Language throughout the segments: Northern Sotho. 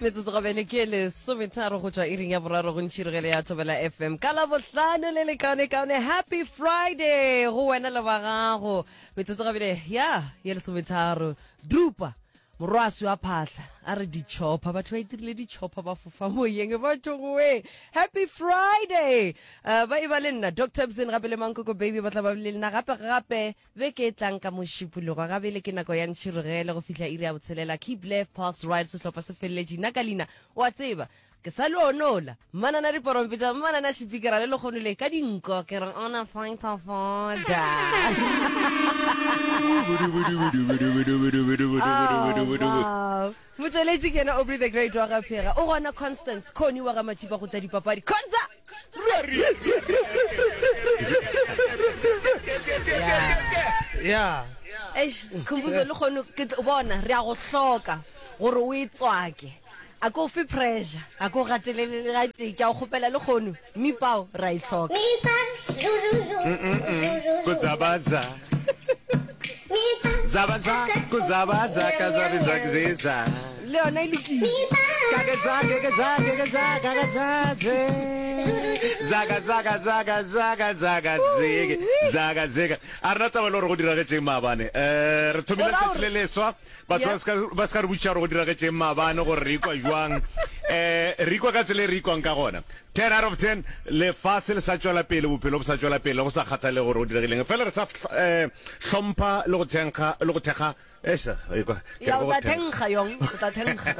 Metsotso gabele ke lesometharo go tšwa iring ya boraro go ntšhirogele ya Thobela FM ka Labohlano le lekaonekaone. Happy Friday go wena le ba gago. Metsotso gabele ya ye lesometharo. Drupa morwaswi wa phahla a re ditšhopha batho ba itirile ditšhopha ba fofa moyeng ba tšogoe. Happy Friday. Uh, ba e ba le nna Dr. Bzin gape le Mankoko Baby ba tla ba le nna gape gape Beke e tlang ka Mošupologo ga bjale ke nako ya ntšhirogele go fihla iri ya botshelela. Keep left, pass right, sehlopha se feleletše. Nna ka leina, o a tseba, ke sa le onola. Mmanana diporompeta, mmanana šipikara le lekgono le ka dinko, ke re ona fight of order. Oh, wow. Motšweletši ke yena Aubrey the Great wa ga Phega. O gona Constance Connie wa ga Mathipa go tša dipapadi. Conza! Yeah. Eish, Sikhumbuzo le kgono ke tlo bona re a go hloka gore o e tswake. A ko fe pressure, a ko gatelele le gatee. Ke a go kgopela le kgono, mipao ra e hloka. Kudzabaza. Zabaza, kuzabaza, kazabizakiziza. Le yona e lokile. Kakeza, kekeza, kekeza, kakazaze. Zaka, zaka, zaka, zaka, zaka, zeke. Zaka, zeka. A rena taba le gore go diragetšeng maabane. Eh, re thomile O ra letšatši le gore- leswa. Batho ba Yeah. ska ba ska re botšiša gore go diragetšeng maabane gore re ikwa jwang. Eh, re ikwa ka tsela e re ikwang ka gona. 10 out of 10, lefase le sa tšwela pele, bophelo bo sa tšwela pele, go sa kgathalege gore go diregileng. Fela re sa eh, hlompha le go thenkga, le go thekga, eish, ekwa, ke re Ya, o go tla thekga. thenkga yong, o tla thenkga.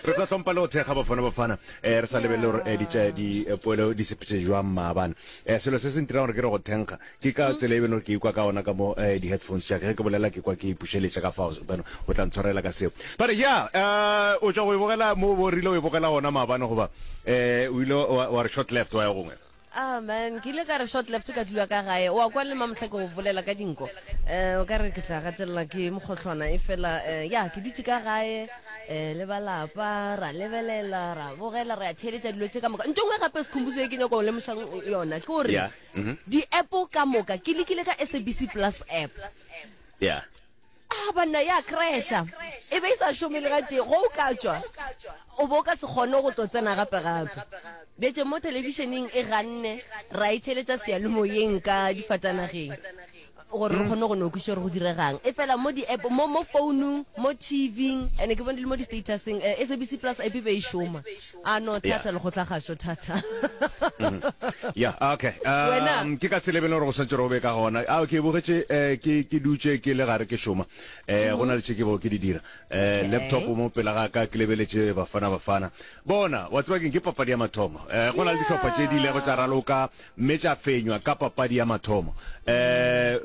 Re sa hlompha le go thekga Bafana Bafana, eh, re sa lebelele gore eh, di tša, di, eh, poelo di sepetše jwang maabane. Eh, selo se se ntirang gore ke re go thenkga, Ke ka tsela e beno ke ikwa ka gona ka mo eh, di-headphones tša ka. Ge ke bolela ke kwa ke ipušeletša ka fao, beno o tla ntshwarela ka seo. But yeah, eh, o tšwa go e bogela mo bo rile o e bogela gona maabane goba eh, o ile wa, wa re short left wa ya gongwe? Ah man, ke ile ka re short left ka dula ka gae. O a kwa le mamohla ke go bolela ka dinko. Eh, o ka re ke tla gatelela ke mokgohlwana e fela eh, ya ke dutše ka gae eh, le ba lapa ra lebelela ra bogela ra theeletša dilo tše ka moka. Ntho e nngwe gape Sikhumbuzo e ke nyako go lemošang yona ke gore Yeah. Mm-hmm. Di-app ka moka ke lekile ka SABC Plus app. Yeah. Ah banna ya crasha. E be e sa šome le gatee. Go o ka tšwa o bo o ka se kgone go tlo tsena gape gape. Bjetse mo thelebišeneng e ganne ra e theeletša seyalemoyeng ka difatanageng gore re kgone go no kwešiša gore go diregang. E fela mo di-app mo mo founung mo TV-ing and ke bone le mo di-statuseng eh, SABC Plus app e be e šoma. A no thata lekgotlagašo thata. Ya, okay. Wena? Um, ke ka tsela e beng gore go swantse gore o be ka gona. A ke bogetše eh, ke ke dutše ke le gare ke šoma. Eh, go na le tše ke bego ke di dira. Eh, Okay. laptop mo pela ga ka ke lebeletše Bafana Bafana. Bona, wa tseba keng ke papadi ya mathomo. Eh, go na le dihlopha tše di ilego tša raloka mme tša fenywa ka papadi ya mathomo. Eh,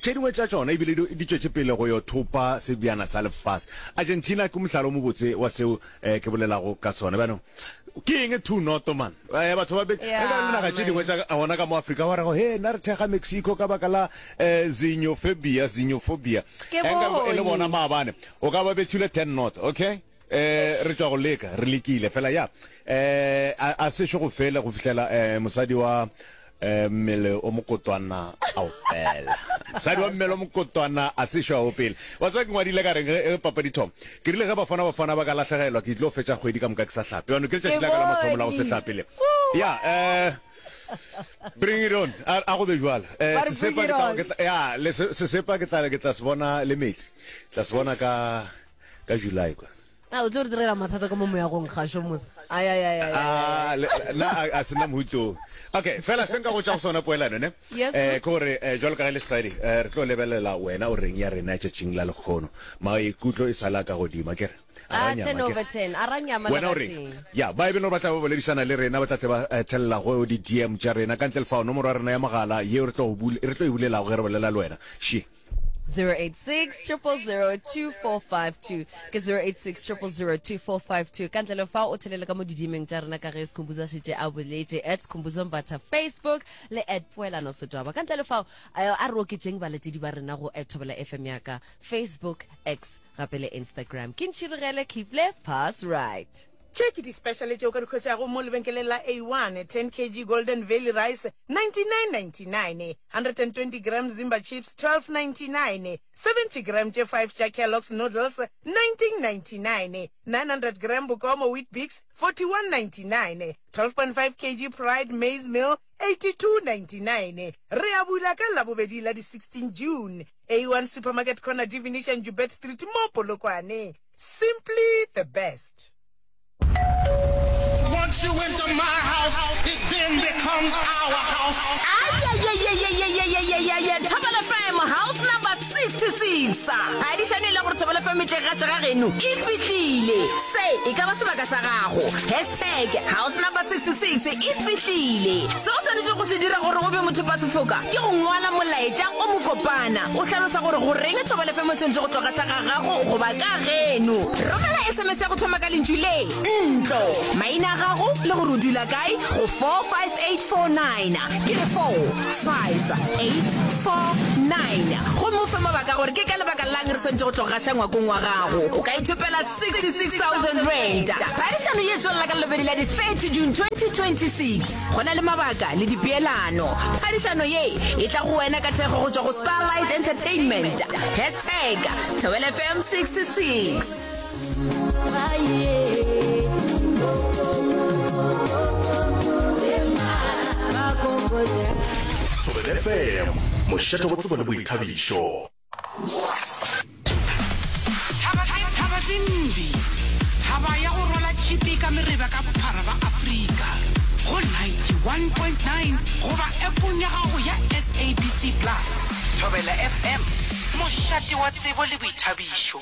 tše dingwe tša tšona ebile di di tšwetše pele go yo thopa sebjana sa lefase. Argentina ke mohlala o mobotse wa seo eh, ke bolelago ka sona bjano ke eng two noto man eh, batho ba be Yeah, re ka dinaga tše dingwe tša gona ka mo Afrika ba rego he nna re thekga Mexico ka baka la eh, xenophobia xenophobia Ke Eh, nka e le bone. bona maabane o ka ba bethile 10 not okay eh re tšwa go leka re lekile fela ya eh a a sešo go fele go fihlela eh mosadi wa Eh, mmele o mokotwana a opela. Mosadi wa mmele o mokotwana a sešo a opele. Wa tseba ke ngwadile ka reng ge ge papadi thoma? Ke rile ge Bafana Bafana ba ka lahlegelwa ke tlo fetša kgwedi ka moka ke sa hlape. Bjano ke letšatši Ke la ka la mathomo la go se bone. hlape le. Ya, eh bring it on. A, a go be jwalo. Eh, Ba re bring sesepa it ke tla, on. ke tla, ya, le se, sesepa ke tla, ke tla se bona le metsi. Tla se bona ka, ka July kwa. A o tlo re direla mathata ka mo moyagong gašo mos. Ai ai ai ai. Ah, le, na a, a sena mohuto. Okay, fela se nka go tša go sona poelano ne. Yes. Eh ke gore eh, jwalo ka ge le setlwaedi eh, re tlo lebelela wena o reng ya rena tšatšing la lekgono. Maikutlo e sala ka godimo akere. A ra Ah, nyama 10 akere. over 10. A ra nyama le Wena o reng? gatee. Ya, ba e beno ba tla ba boledišana le rena, ba tla tle ba eh, thelela go di DM tša rena ka ntle le fao nomoro ya rena ya mogala yeo re tlo go bule, re tlo e bulelago ge re bolela le wena. She. 086 000 2452 ke 086 000 2452 ka ntle le fao o thelele ka mo didimeng tša rena ka ge Skhumbuzo a šetše a boletše at Skhumbuzo Mbatha Facebook le at Poelano Setwaba ka ntle le fao eh, a re oketšeng balatedi ba rena go at Thobela FM ya ka Facebook X gape le Instagram ke ntšhirogele keep left pass right. Tše ke di-special tše o ka di hwetšago mo lebenkeleng la A1, 10 kg Golden Valley Rice, 99.99, 120 gram Zimba Chips, 12.99, 70 gram tše 5 tša Kellogg's Noodles, 19.99, 900 gram Bokomo Weet-Bix, 41.99, 12.5 kg Pride Maize Meal, 82.99. Re a bula ka Labobedi la di 16 June. A1 Supermarket Corner Divination Joubert Street mo Polokwane. Simply the best. Once you enter my house, it then becomes our house. Ayayayayayayayayaya Thobela FM house number 66 Phadišano e la gore Thobela FM e tle gaša ga geno e fihlile Se e ka ba sebaka sa gago Hashtag house number 66 e fihlile Se o swanetšego go se dira gore o be mothopasefoka ke go ngwala molaetša o mokopana o hlalosa gore goreng Thobela FM e swanetše go tlo gaša ga gago goba ka geno. Romela SMS ya go thoma ka lentšu le, ntlo, maina a gago le gore o dula kae go 45849. Ke re 45849. Gomme o fe mabaka gore ke ka lebaka la'ng re swanetše go tlo gaša ngwakong wa gago. O ka ithopela R66,000. Phadišano ye e tswelela ka Labobedi la di 30 June 2026. Go na le mabaka le dipeelano. Phadišano ye e tla go wena ka thekgo go tšwa go Starlight Entertainment. Hashtag Thobela FM 66. Thobela FM, mošate wa tsebo le boithabišo. Thaba tse, thaba tse mbi, thaba ya go rwala tšhipi ka mereba ka bophara ba Afrika, go 91.9 goba appong ya gago ya SABC Plus. Thobela FM, mošate wa tsebo le boithabišo.